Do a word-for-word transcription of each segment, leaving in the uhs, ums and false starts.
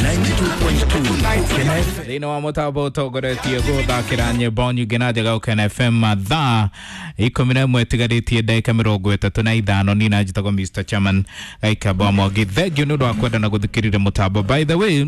ninety-two point two. Thĩinĩ wa mũtambo ũtongoretie gũthakĩra nyĩmbo nyingĩ na njega Gũkena F M mathaa ikũmi na ĩmwe ĩtigarĩtie ndagĩka mĩrongo ĩtatũ na ithano. Niĩ na njĩtagwo Mister Chairman Gaikamba wa Mwangi. Thank you nĩ ũndũ wa kwenda na gũthikĩrĩria mũtambo. By the way,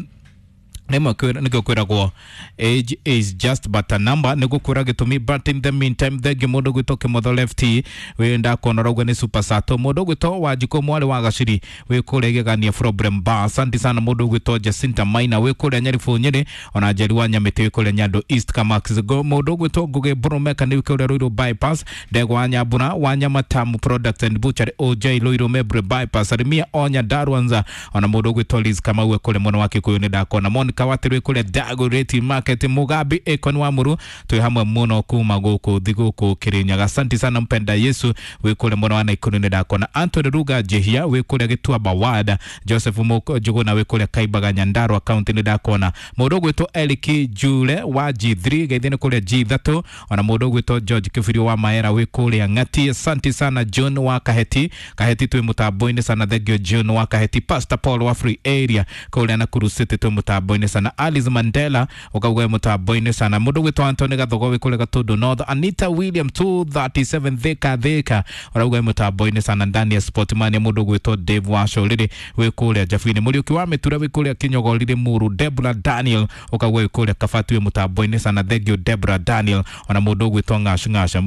rĩmwe nĩkĩo kwĩragwo age is just but a number, nĩ gũkwĩra gĩtũmi, but in the meantime thengi mũndũ gwĩtwo Kĩmotho Lefty wĩ ndakuona ũrauga nĩ super sato, mũndũ gwĩtwo Wanjikũ mwarĩ wa Gaciri wĩ kũrĩa Gĩgania problem bar, asante sana. Mũndũ gwĩtwo Jacinta Maina wĩ kũrĩa Nyaribũ Nyĩrĩ, ona Njeri wa Nyamĩtĩ wĩ kũrĩa Nyando East Kamax, mũndũ gwĩtwo Ngũgĩ Burumeka nĩ kũrĩa Ruiru bypass, Ndegwa wa Nyambura wa Nyamatamu Products and Butchery O J Ruiru Mebre bypass, Arimia Onya Darwanza, ona mũndũ gwĩtwo Liz Kamau wĩ kũrĩa mwena wa Kikuyu nĩ ndakona Monica Watirwe kũrĩa Dagoretti Market, Mugabi Ekon wa Muru twĩ hamwe mũno kuma gũkũ thigũkũ Kirinyaga, asante sana. Mpenda Yesu wĩ kũrĩa mwena wa Naikuru nĩ ndakona Anthony Ruga Jehia wĩ kũrĩa Gĩtuamba Ward, Joseph Moko Njuguna wĩ kũrĩa Kaimbaga Nyandarua County nĩ ndakona mũndũ ũgwĩtwo Eric Jule wa G three geithĩ nĩ kũrĩa G three, ona mũndũ ũgwĩtwo George Kibirio wa Maera wĩ kũrĩa Ng'ati, asante sana. John wa Kaheti Kaheti twĩ mũtambo-inĩ sana, thank you John wa Kaheti. Pastor Paul wa Free Area kũrĩa Nakuru City twĩ mũtambo-inĩ sana. Alice Mandela ukauga mũtambo-inĩ sana. Mũndũ ũgwĩtwo Anthony Gathogo wĩ kũrĩa Gatundu North, Anita William two thirty-seven Thika Thika ũrauga mũtambo-inĩ sana. Ndani ya Sportman mũndũ ũgwĩtwo Dave Wachũrĩrĩ wĩ kũrĩa Jabini, Mũriũki wa Mĩtura wĩ kũrĩa Kinyogorire Muru, Debra Daniel ũkauga wĩ kũrĩa Kabati wĩ mũtambo-inĩ sana, thank you Debra Daniel. Ona mũndũ ũgwĩtwo Ng'ash Ng'asha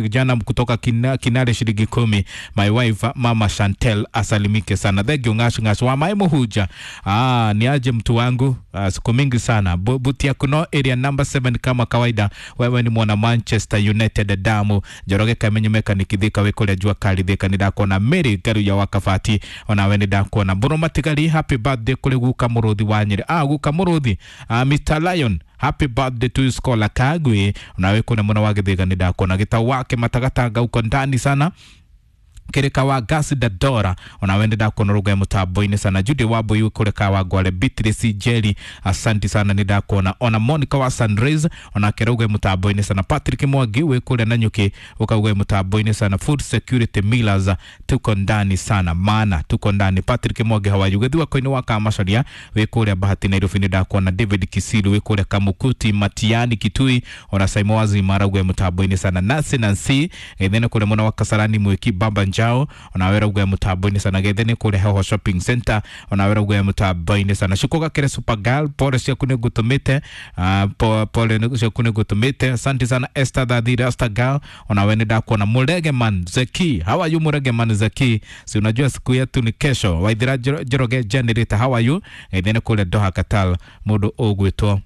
kijana kutoka kina, Kinare shilingi kumi, my wife Mama Chantel asalimike sana, thank you Ng'ash Ng'ash wa Mai Muhuja. Ah, ni aje mtu wangu, ah, siku mingi sana. Butia kuno area number seven kama kawaida, wewe ni mwana Manchester United damu. Njoroge Kamenyo Mechanic Thika wĩ kũrĩa Jua Kali Thika nĩ ndakona Mary Ngaru ya Wakabati ona we nĩ ndakona Mbũrũ Matigari, happy birthday kũrĩ guka Mũrũthi wa Nyĩrĩ, ah guka Mũrũthi, ah, Mister Lion happy birthday to you Scholar Kagwe, ona we kuna mwana wa Gĩthĩga nĩ ndakona Gĩtau wake Matagatanga uko ndani sana Kirika wa Gasi Dadora ona wende ndakuona ruga mutambo-inĩ sana. Judy Wabo yu kureka wa Gwale Beatrice Jerry asante sana ni ndakuona ona Monica wa Sunrise ona keruga mutambo-inĩ sana. Patrick Mwangi wi kule na nyuki ukauga mutambo-inĩ sana. Food Security Millers tuko ndani sana maana tuko ndani. Patrick Mwangi hawayu githiwa koini wa Kamacaria wi kule Bahati Nairobi ni ndakuona. David Kisilu wi kule Kamukuti Matiani Kitui ona Simon Wazi marauga mutambo-inĩ sana. Nancy Nancy githene kule mwana wa Kasarani Mwiki Baba Njao ona wera uga mutambo-inĩ sana. Gethene kule Heho Shopping Center ona wera uga mutambo-inĩ sana. Shukoga kere Super Girl pole ciaku nĩ ngũtũmĩte, uh, pole ciaku nĩ ngũtũmĩte, asante sana. Esther Thathi Rasta Girl ona we nĩ ndakuona. Murege Man Zeki, how are you Murege Man Zeki, si unajua siku yetu ni kesho. Waithira Njoroge Generator, how are you, gethene kule Doha Qatar mũndũ ũgwĩtwo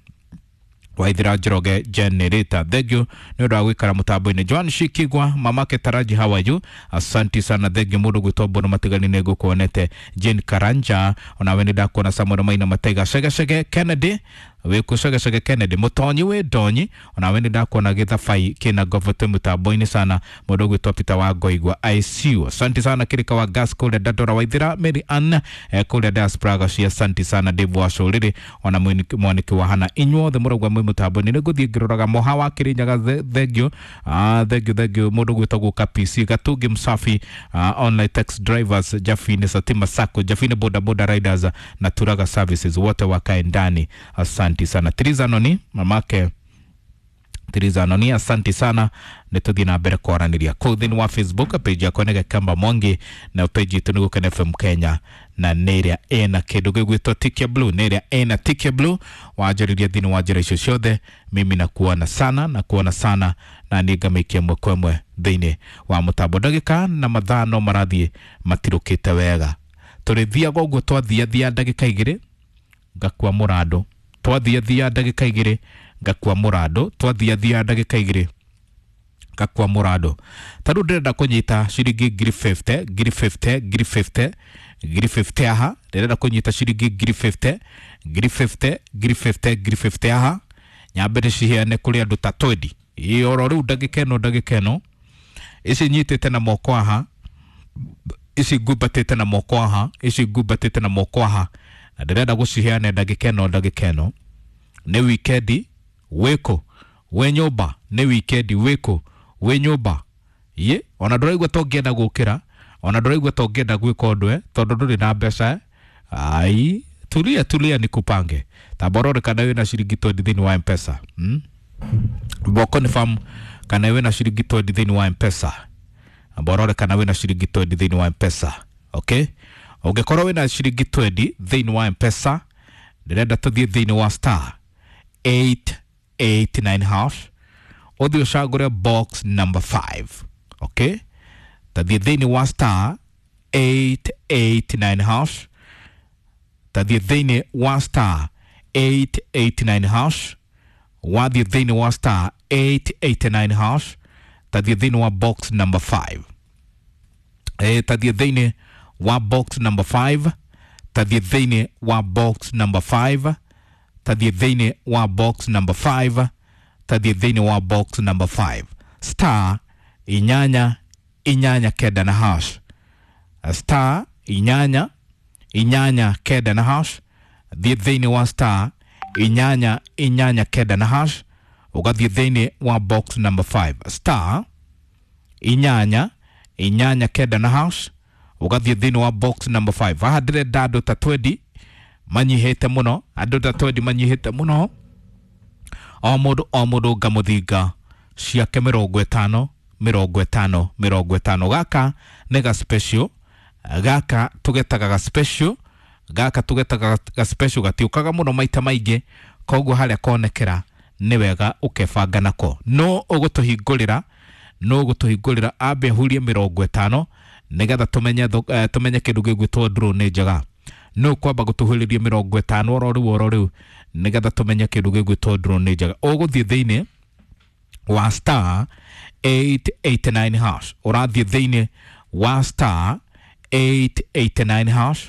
Waithira Njoroge Generator, thank you nĩ ũndũ wa gũikara mũtambo-inĩ. Joan Shikigwa mamake Taraji, how are you, asante sana, thank you mũndũ gwĩtwo Mbono Matigani nĩ ngũkuonete. Jane Karanja ona we nĩ ndakuona. Samuel Maina Mataiga Shegeshege Kennedy wĩkũ Shegeshege Kennedy Mũtonyi wĩ Ndonyi ona we nĩ ndakuona. Gĩthabai kĩna ngovo twĩ mũtambo-inĩ sana. Mũndũ gwĩtwo Peter wa Ngoigwa I C U, asante sana. Kirika wa Gas kũrĩa Dandora Waithira Mary Ann eh, kũrĩa diaspora Gacia, asante sana. Dave wa Cũrĩrĩ ona mwaniki wa Hana, inyuothe mũraugua mwĩ mũtambo-inĩ. Nĩ ngũthiĩ ngĩroraga Moha wa Kĩrĩnyaga, thank you, ah, thank you, thank you mũndũ gwĩtagwo K P C Gatungi Msafi, uh, online taxi drivers Jafine Satima Sacco Jafine boda boda riders na Turaga Services wote wakae ndani, asante sana. Tiriza Noni mamake Tiriza Noni, asante sana. Nĩtũthiĩ na mbere kwaranĩria kũu thĩinĩ wa Facebook page yakwa nĩ Gakamba Mwangi na page itũ nĩ Gũkena F M Kenya na nĩ ĩrĩa ĩna kĩndũ gĩgwĩtwo Tick Blue, nĩ ĩrĩa ĩna Tick Blue. Wanjĩrĩria thĩinĩ wa njĩra icio ciothe, mimi nakuona sana na kuona sana na nĩ ngamĩikia ĩmwe kwa ĩmwe thĩinĩ wa mũtambo. Ndagĩka na mathaa no marathiĩ matirũkĩte wega, tũrĩthiaga ũguo twathiathia ndagĩka igĩrĩ ngakua mũrandũ, twathiathia ndagĩka igĩrĩ ngakua mũrandũ, twathiathia ndagĩka igĩrĩ ngakua mũrandũ. Ta rĩu ndĩrenda kũnyita ciringi ngiri fifty, ngiri fifty, ngiri fifty, ngiri fifty aha, ndĩrenda kũnyita ciringi ngiri fifty, ngiri fifty, ngiri fifty, ngiri fifty aha, nyambe ndĩciheane kũrĩ andũ ta twenty. Ĩ oro rĩu ndagĩka ĩno, ndagĩka ĩno ici nyitĩte na moko aha, ici ngumbatĩte na moko aha, ici ngumbatĩte na moko aha, na ndĩrenda gũciheana ndagĩka ĩno, ndagĩka ĩno. Nĩ wikendi wĩkũ wĩ nyũmba, nĩ wikendi wĩkũ wĩ nyũmba ye, ona ndũraigua ta ũngĩenda gũkĩra, ona ndũraigua ta ũngĩenda gwĩka ũndũ eh, tondũ ndũrĩ na mbeca eh. Ai Tulia tulia nikupange. Taborore kana wina ciringi twendi thĩinĩ wa M-Pesa. Hmm? Boko ni fam kana wina ciringi twendi thĩinĩ wa M-Pesa. Borore kana wina ciringi twendi thĩinĩ wa M-Pesa. Okay? Ũngĩkorwo wina ciringi twendi thĩinĩ wa M-Pesa, ndĩrenda tũthiĩ thĩinĩ wa star eight eight nine hash ũthiĩ ũcagũre box number five. Okay? Tathiĩ thĩinĩ wa star eight eight nine hash, tathiĩ thĩinĩ wa star eight eight nine hash, wathiĩ thĩinĩ wa star eight eight nine hash, tathiĩ thĩinĩ wa box number five. Eh, tathiĩ thĩinĩ wa box number five, tathiĩ thĩinĩ wa box number five, tathiĩ thĩinĩ wa box number five, tathiĩ thĩinĩ wa box number five, star inyanya inyanya kenda na hash, star inyanya inyanya kenda na hash, thiĩ thĩinĩ wa star inyanya inyanya kenda na hash, ũgathiĩ thĩinĩ wa box number five, star inyanya inyanya kenda na hash, ũgathiĩ thĩinĩ wa box number five. Haha ndĩrenda andũ ta twendi manyihĩte mũno, andũ ta twendi manyihĩte mũno, o mũndũ o mũndũ ngamũthinga ciake mĩrongo ĩtano mĩrongo ĩtano mĩrongo ĩtano. Gaka nĩ ga special, gaka tũgetaga ga special, gaka tũgetaga ga special, gatiũkaga mũno maita maingĩ, koguo harĩa konekera nĩ wega ũkebanga nako. No ũgũtũhingũrĩra, no ũgũtũhingũrĩra ambe ahurie mĩrongo ĩtano nĩgetha tũmenye uh, tũmenye kĩndũ gĩgwĩtwo draw nĩ njega. No kwamba gũtũhũrĩria mĩrongo ĩtano oro rĩu oro rĩu nĩgetha tũmenye kĩndũ gĩgwĩtwo draw nĩ njega. Ũgũthiĩ thĩinĩ wa star eight eight nine hash, ũrathiĩ thĩinĩ wa star eight eight nine hash,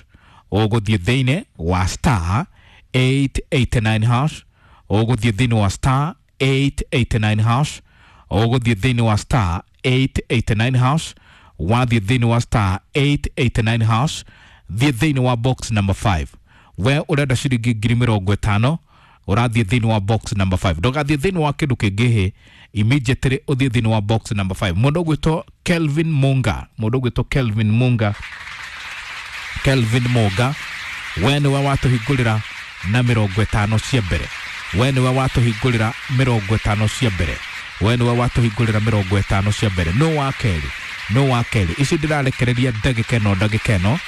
ũgũthiĩ thĩinĩ wa star eight eight nine hash, ũgũthiĩ thĩinĩ wa star eight eight nine hash, ũgũthiĩ thĩinĩ wa star eight eight nine hash, wathiĩ thĩinĩ wa star eight eight nine hash, thiĩ thĩinĩ wa box number five. We ũrenda ciringi ngiri mĩrongo ĩtano, ũrathiĩ thĩinĩ wa box number five. Ndũgathiĩ thĩinĩ wa kĩndũ kĩngĩ hĩ, immediately ũthiĩ thĩinĩ wa box number five. Mũndũ ũgwĩtwo Kelvin Munga, mũndũ ũgwĩtwo Kelvin Munga, Kelvin Munga, we nĩwe watũhingũrĩra na mĩrongo ĩtano cia mbere. We nĩwe watũhingũrĩra mĩrongo ĩtano cia mbere. We nĩwe watũhingũrĩra mĩrongo ĩtano cia mbere. No wa kerĩ, no wa kerĩ. Ici ndĩrarekereria ndagĩka ĩno ndagĩka ĩno,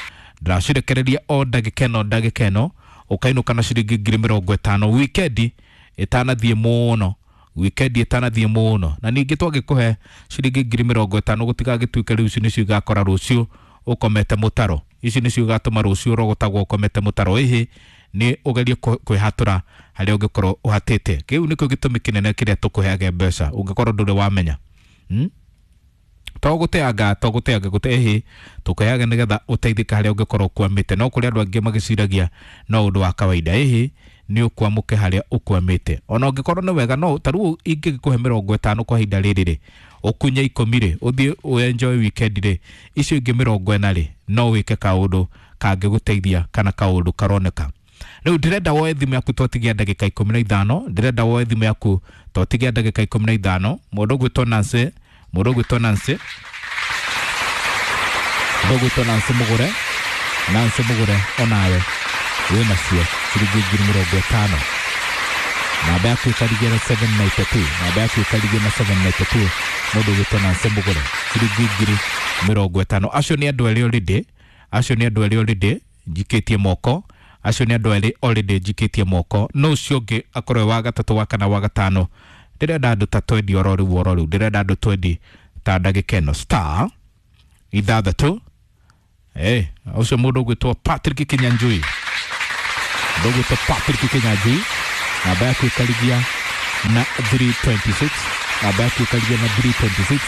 ndĩracirekereria o ndagĩka ĩno ndagĩka ĩno, ũkainũka na ciringi ngiri mĩrongo ĩtano wikendi ĩtanathiĩ mũno, wikendi ĩtanathiĩ mũno. Na ningĩ twagĩkũhe ciringi ngiri mĩrongo ĩtano gũtigagĩtuĩke rĩu ici nĩcio igakora rũciũ ũkomete mũtaro, ici nĩcio igatũma rũciũ ũrogotagwo ũkomete mũtaro. Ĩhĩ nĩ ũgerie kwĩhatũra harĩa ũngĩkorwo ũhatĩte. Kĩu nĩkĩo gĩtũmi kĩnene kĩrĩa tũkũheage mbeca ũngĩkorwo ndũrĩ wamenya. Hmm? To gũteanga, to gũteanga gũte ĩhĩ tũkũheaga nĩgetha ũteithĩke harĩa ũngĩkorwo ũkwamĩte. No kũrĩ andũ angĩ magĩciragia no ũndũ wa kawaida, ĩhĩ nĩ ũkwamũke harĩa ũkwamĩte. Ona ũngĩkorwo nĩ wega, no ta rĩu ingĩgĩkũhe mĩrongo ĩtano kwa ihinda rĩrĩ rĩ, ũkunye ikũmi rĩ, ũthiĩ ũ enjoy weekend rĩ, icio ingĩ mĩrongo ĩna rĩ, no wĩke kaũndũ kangĩgũteithia kana kaũndũ karoneka. Rĩu ndĩrenda woe thimũ yaku twatigia ndagĩka ikũmi na ithano, ndĩrenda woe thimũ yaku twatigia ndagĩka ikũmi na ithano. Mũndũ ũgwĩtwo Nancy, mũndũ ũgwĩtwo Nancy, mũndũ ũgwĩtwo Nancy Mũgũre, Nancy Mũgũre onawe wĩnacio ciringi ngiri mĩrongo ĩtano. Namba yaku ĩkarigia na seven ninety two, namba yaku ĩkarigia na seven ninety two, mũndũ ũgwĩtwo Nancy Mũgũre ciringi ngiri mĩrongo ĩtano. Acio nĩ andũ erĩ already, acio nĩ andũ erĩ already njikĩtie moko, acio nĩ andũ erĩ already njikĩtie moko. No ũcio ũngĩ akorwo wa gatatũ, wa kana, wa gatano. Ndĩrenda andũ ta twendi oro rĩu oro rĩu, ndĩrenda andũ twendi ta ndagĩka ĩno. Star ithathatũ, eh, ũcio mũndũ ũgwĩtwo Patrick Kinyanjui, mũndũ ũgwĩtwo Patrick Kinyanjui, namba yaku ĩkarigia na three twenty six, namba yaku ĩkarigia na three twenty six,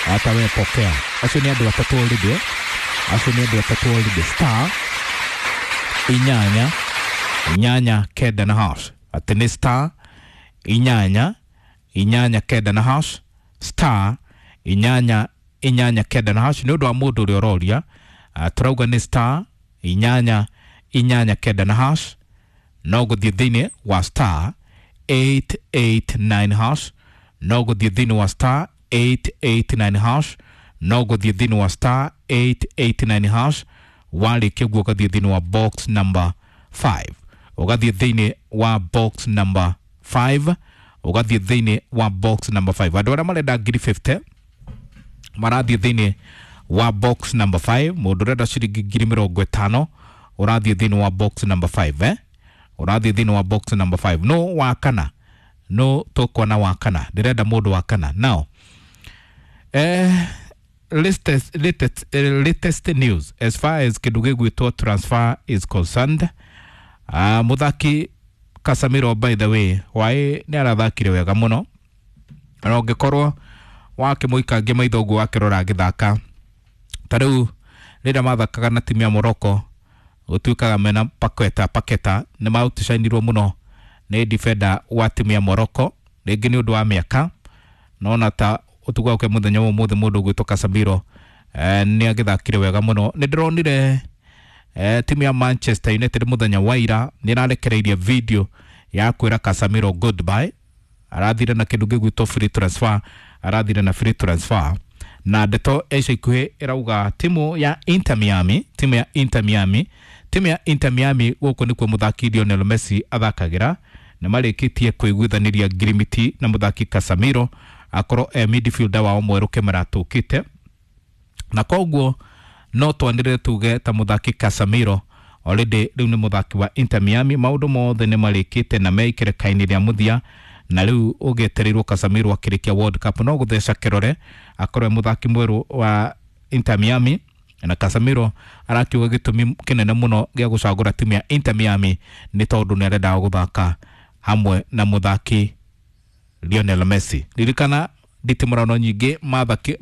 hata we pokea. Acio nĩ andũ atatũ already, acio nĩ andũ atatũ already. Star inyanya inyanya kenda na hash, atĩ nĩ star inyanya inyanya kenda na hash, star inyanya inyanya kenda na hash. Nĩ ũndũ wa mũndũ ũrĩa ũroria, uh, tũrauga nĩ star inyanya inyanya kenda na hash, no gũthiĩ thĩinĩ wa star eight eight nine hash, no gũthiĩ thĩinĩ wa star eight eight nine hash, no gũthiĩ thĩinĩ wa star eight eight nine hash. Warĩkia guo ũgathiĩ thĩinĩ wa box number five, ũgathiĩ thĩinĩ wa box number five, ũgathiĩ thĩinĩ wa box number five. Andũ arĩa marenda ngiri fifty marathiĩ thĩinĩ wa box number five. Mũndũ ũrenda ciringi ngiri mĩrongo ĩtano ũrathiĩ thĩinĩ wa box number five, eh? Ũrathiĩ thĩinĩ wa box number five. No wa kana, no tũkuona wa kana, ndĩrenda mũndũ wa kana now. Eh, latest, latest, eh, latest news as far as kĩndũ gĩgwĩtwo transfer is concerned. uh, mũthaki Casemiro, by the way, waĩ nĩ arathakire wega mũno, na ũngĩkorwo wakĩmũikangia maitho ũguo wakĩrora agĩthaka ta rĩu rĩrĩa mathakaga na timu ya Morocco, gũtuĩkaga mena Paqueta Paqueta nĩ maũticainirwo mũno nĩ defender wa timu ya Morocco, rĩngĩ nĩ ũndũ wa mĩaka. Nona ta ũtukũ wake mũthenya wa ũmũthĩ, mũndũ ũgwĩtwo Casemiro eh, nĩ agĩthakire wega mũno. Nĩ ndĩronire eh, timu ya Manchester United mũthenya wa ira nĩ ĩrarekereirie video ya kwĩra Casemiro goodbye. Arathire na kĩndũ gĩgwĩtwo free transfer, arathire na free transfer, na ndeto ya ica ikuhĩ ĩrauga timu ya Inter Miami, timu ya Inter Miami, timu ya Inter Miami, gũkũ nĩkuo mũthaki Lionel Messi athakagĩra, nĩ marĩkĩtie kũiguithanĩria ngirimiti na mũthaki Casemiro akorwo e midfielder wao mwerũ kĩmera tũkĩte. Na koguo no twanĩrĩre tuge ta mũthaki Casemiro already rĩu nĩ mũthaki wa Inter Miami. Maũndũ mothe nĩ marĩkĩte na meikĩrĩka-inĩ rĩa mũthia, na rĩu ũgĩetereirwo Casemiro akĩrĩkia World Cup no gũtheca kĩrore akorwo e mũthaki mwerũ wa Inter Miami. Na Casemiro arakiuga gĩtũmi kĩnene mũno gĩa gũcagũra timu ya Inter Miami nĩ tondũ nĩ arendaga gũthaka hamwe na mũthaki Lionel Messi. Ririkana nditimũrano nyingĩ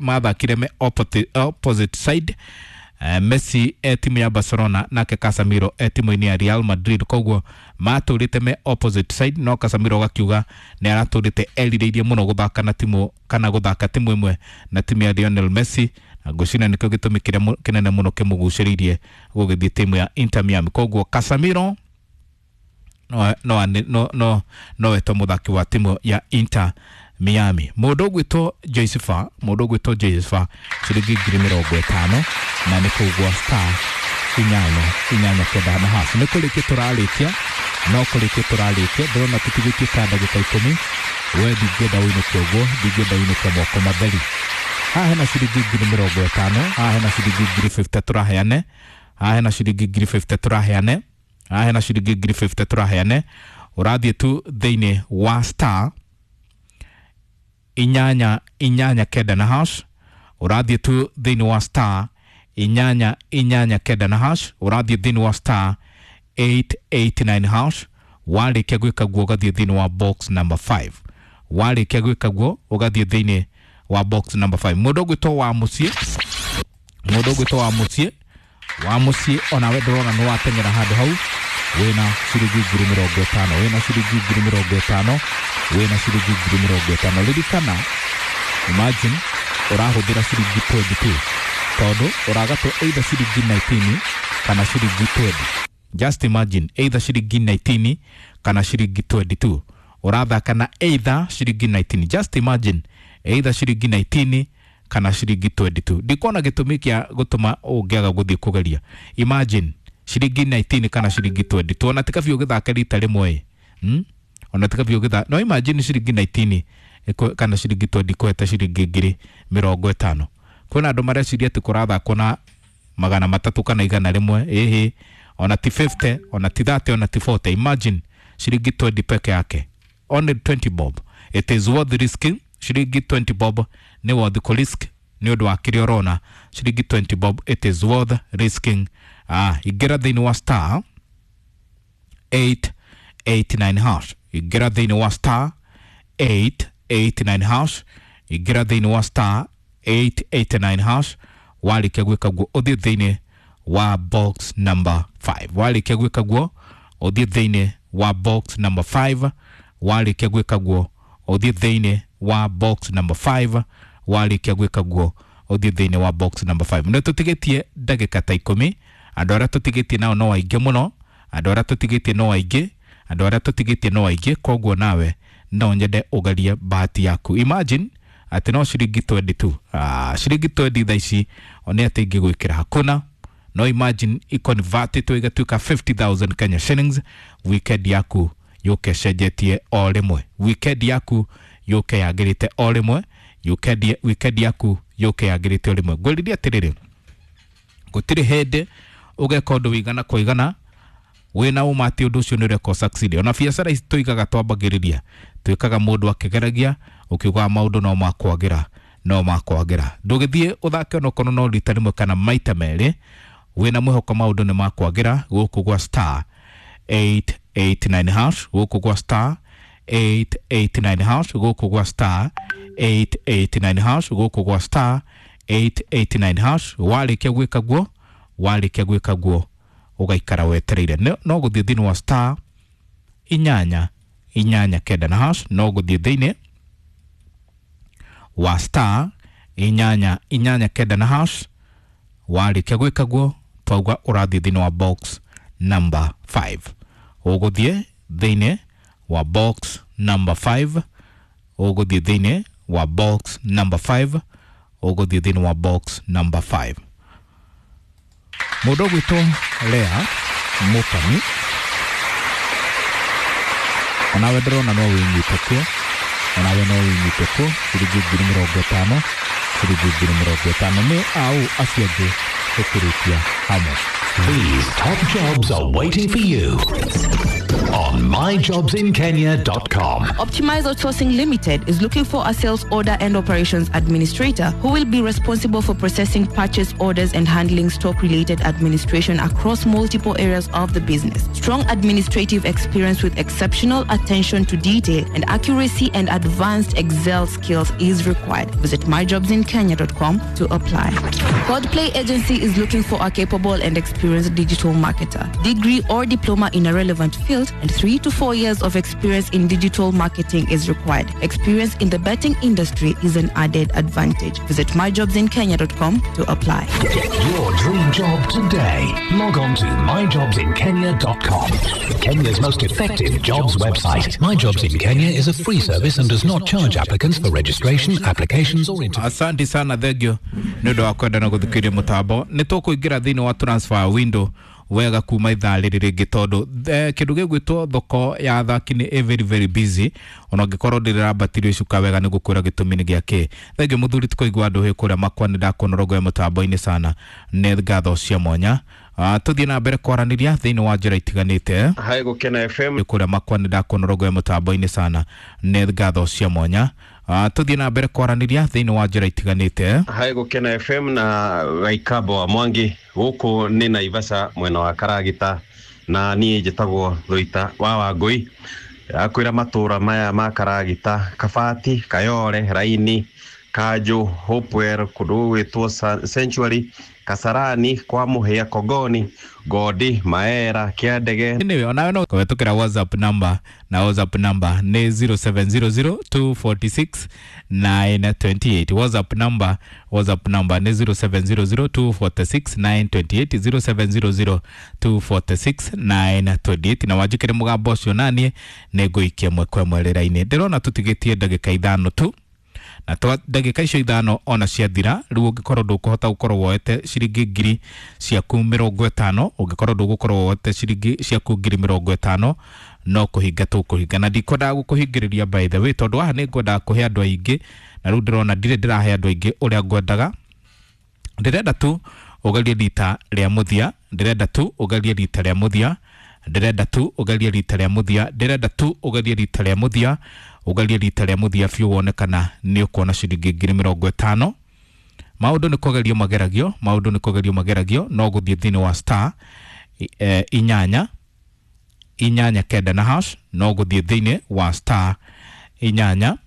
mathakire me opposite, opposite side. Uh, Messi e timu ya Barcelona nake Casemiro e timu-inĩ ya Real Madrid, koguo matũrĩte me opposite side, no Casemiro gakiuga nĩ aratũrĩte erirĩirie mũno gũthaka na timu kana gũthaka timu ĩmwe na timu ya Lionel Messi, na ngwĩciria nĩkĩo gĩtũmi kĩrĩa kĩnene mũno kĩmũgucĩrĩirie gũgĩthiĩ timu ya Inter Miami. Koguo Casemiro no no no no no etwo mũthaki wa timu ya Inter Miami. Mũndũ ũgwĩtwo Josefa, mũndũ ũgwĩtwo Josefa ciringi ngiri mĩrongo ĩtano, na nĩ kũgwa star inyanya inyanya kenda na hash. Nĩ kũrĩkia tũrarĩkia, no kũrĩkia tũrarĩkia, ndĩrona tũtigĩtie ta ndagĩka ikũmi. We ndingĩenda ũinũke ũguo, ndingĩenda ũinũke moko matheri. Haha hena ciringi ngiri mĩrongo ĩtano, haha hena ciringi ngiri fifty tũraheane, haha hena ciringi ngiri fifty tũraheane, haha hena ciringi ngiri fifty tũraheane. Ũrathiĩ tu thĩinĩ wa star inyanya inyanya kenda na hash, ũrathiĩ tu thĩinĩ wa star inyanya inyanya kenda na hash, ũrathiĩ thĩinĩ wa star eight eight nine hash. Warĩkia gwĩka guo ũgathiĩ thĩinĩ wa box number five, warĩkia gwĩka guo ũgathiĩ thĩinĩ wa box number five. Mũndũ ũgwĩtwo wa mũciĩ, mũndũ ũgwĩtwo wa mũciĩ, wa mũciĩ onawe ndĩrona nĩ wateng'era handũ hau wĩna ciringi ngiri mĩrongo ĩtano, wĩna ciringi ngiri mĩrongo ĩtano, wĩna ciringi ngiri mĩrongo ĩtano. Ririkana, imagine ũrahũthĩra ciringi twenty two, tondũ ũragatwo either ciringi nineteen kana ciringi twenty. Just imagine, either ciringi nineteen kana ciringi twenty two, ũrathaka na either ciringi nineteen. Just imagine, either ciringi nineteen kana ciringi twenty two. Ndikuona gĩtũmi kĩa gũtũma ũngĩaga gũthiĩ kũgeria. Imagine ciringi nineteen kana ciringi twenty two, ona tika biũ gĩthake rita rĩmwe, hmm? Ona tika biũ gĩthake, no imagine ciringi nineteen kana ciringi twenty kũhete ciringi ngiri mĩrongo ĩtano. Kwĩna andũ mareciria atĩ kũrathakwo na magana matatũ kana igana rĩmwe, ĩhĩ, ona ti fifty, ona ti thirty, ona ti forty. Imagine ciringi twenty peke yake, only twenty bob. It is worth risking. Ciringi twenty bob nĩ worth kũ risk nĩ ũndũ wa kĩrĩa ũrona. Ciringi twenty bob, it is worth risking. Ah, ingĩra thĩinĩ wa star eight eight nine hash, ingĩra thĩinĩ wa star eight eight nine hash, ingĩra thĩinĩ wa star eight eight nine hash. Warĩkia gwĩka guo ũthiĩ thĩinĩ wa box number five, warĩkia gwĩka guo ũthiĩ thĩinĩ wa box number five, warĩkia gwĩka guo ũthiĩ thĩinĩ wa box number five, warĩkia gwĩka guo ũthiĩ thĩinĩ wa box number five. Nĩ tũtigĩtie ndagĩka ta ikũmi, andũ arĩa tũtigĩtie nao no aingĩ mũno, andũ arĩa tũtigĩtie no aingĩ, andũ arĩa tũtigĩtie no aingĩ. Koguo nawe no nyende ũgerie bahati yaku. Imagine atĩ no ciringi twenty two, ah, ciringi twenty thaa ici one atĩ ingĩgwĩkĩra hakuna, No imagine iconvertĩtwo ĩgatuĩka fifty thousand Kenya shillings. Weekend yaku yũke cenjetie o rĩmwe, weekend yaku yũke yagĩrĩte o rĩmwe, weekend weekend yaku yũke yagĩrĩte o rĩmwe. Ngwĩrire atĩrĩrĩ, gũtirĩ hĩndĩ ũgeka ũndũ wĩigana kwa igana wĩna ũma atĩ ũndũ ũcio nĩ ũreka succeed. Ona biacara ici tũigaga twambagĩrĩria twĩkaga mũndũ akĩgeragia ũkiugaga maũndũ no makwagĩra, no makwagĩra. Ndũgĩthiĩ ũthake onokorwo no rita rĩmwe kana maita merĩ wĩna mwĩhoko maũndũ nĩ makwagĩra gũkũ gwa star eight eight nine hash, gũkũ gwa star eight eight nine hash, gũkũ gwa star eight eight nine hash, gũkũ gwa star eight eight nine hash. Warĩkia gwĩka guo, warĩkia gwĩka guo ũgaikara wetereire. No gũthiĩ thĩinĩ wa star inyanya inyanya kenda na hash, no gũthiĩ thĩinĩ wa star inyanya inyanya kenda na hash. Warĩkia gwĩka guo twauga ũrathiĩ thĩinĩ wa box number five, ũgũthiĩ thĩinĩ wa box number five, ũgũthiĩ thĩinĩ wa box number five, ũgũthiĩ thĩinĩ wa box number five. Mũndũ ũgwĩtwo Lea Mũkami, onawe ndĩrona no wĩnyite kuo, onawe no wĩnyite kuo ciringi ngiri mĩrongo ĩtano, ciringi ngiri mĩrongo ĩtano. Nĩ au acio angĩ tũkĩrĩkia hamwe. These top jobs are waiting for you on my jobs in kenya dot com. Optimize Outsourcing Limited is looking for a sales order and operations administrator who will be responsible for processing purchase orders and handling stock-related administration across multiple areas of the business. Strong administrative experience with exceptional attention to detail and accuracy and advanced Excel skills is required. Visit my jobs in kenya dot com to apply. Codplay Agency is looking for a capable and experienced digital marketer, degree or diploma in a relevant field, and three to four years of experience in digital marketing is required. Experience in the betting industry is an added advantage. Visit my jobs in kenya dot com to apply. Get your dream job today. Log on to my jobs in kenya dot com. Kenya's most effective jobs website. My Jobs in Kenya is a free service and does not charge applicants for registration, applications or interviews. Asante sana, thengio nĩ ũndũ wa kwenda na gũthikĩrĩria mũtambo. Nĩ tũkũingĩra thĩinĩ wa transfer window wega kuma ithaa rĩrĩ rĩngĩ tondũ kĩndũ gĩgwĩtwo thoko ya athaki nĩ very very busy. Ona ũngĩkorwo ndĩrambatirio icuka wega nĩ gũkwĩra gĩtũmi nĩ gĩa kĩ. Thengio mũthuri tũkũigua andũ hĩ kũrĩa makwa nĩ ndakuona rogo ya mũtambo-inĩ sana, nĩ ngatho cia mwanya. Uh, tũthiĩ na mbere kwaranĩria thĩinĩ wa njĩra itiganĩte. Hai Gũkena F M kũrĩa makwa nĩ ndakuona rogo ya mũtambo-inĩ sana, nĩ ngatho cia mwanya. Uh, tũthiĩ na mbere kwaranĩria thĩinĩ wa njĩra itiganĩte. Hai Gũkena F M na Gaikabo wa Mwangi gũkũ nĩ Naivasha mwena wa Karagita, na niĩ njĩtagwo Rũita wa Wangũi. Akwĩra matũra maya ma Karagita, Kabati, Kayore, Raini, Kanjũ, Hopewell, kũndũ gũgwĩtwo Sanctuary, Kasarani, kwa Mũhĩa, Kogoni, Godi, Maera, Kĩandege. Anyway, onawe no kũhetũkĩra WhatsApp number, na WhatsApp number nĩ zero seven zero zero two four six nine two eight. WhatsApp number, WhatsApp number nĩ zero seven zero zero two four six nine two eight, zero seven zero zero two four six nine two eight. Na wanjĩkĩre mũgambo ũcio naniĩ nĩ ngũikia ĩmwe kwa ĩmwe rĩra-inĩ. Ndĩrona tũtigĩtie ndagĩka ithano tu, na twa ndagĩka icio ithano ona ciathira rĩu ũngĩkorwo ndũkũhota gũkorwo woete ciringi ngiri ciaku mĩrongo ĩtano, ũngĩkorwo ndũgũkorwo woete ciringi ciaku ngiri mĩrongo ĩtano no kũhinga tũkũhinga. Na ndikwendaga gũkũhingĩrĩria by the way, tondũ haha nĩ ngwendaga kũhe andũ aingĩ, na rĩu ndĩrona ndirĩ ndĩrahe andũ aingĩ ũrĩa ngwendaga. Ndĩrenda tu ũgerie rita rĩa mũthia, ndĩrenda tu ũgerie rita rĩa mũthia, ndĩrenda tu ũgerie rita rĩa mũthia, ndĩrenda tu ũgerie rita rĩa mũthia, ũgerie rita rĩa mũthia biũ wone kana nĩ ũkuona ciringi ngiri mĩrongo ĩtano. Maũndũ nĩ kũgerio mageragio, maũndũ nĩ kũgerio mageragio, no gũthiĩ thĩinĩ wa star e, inyanya inyanya kenda na hash, no gũthiĩ thĩinĩ wa star inyanya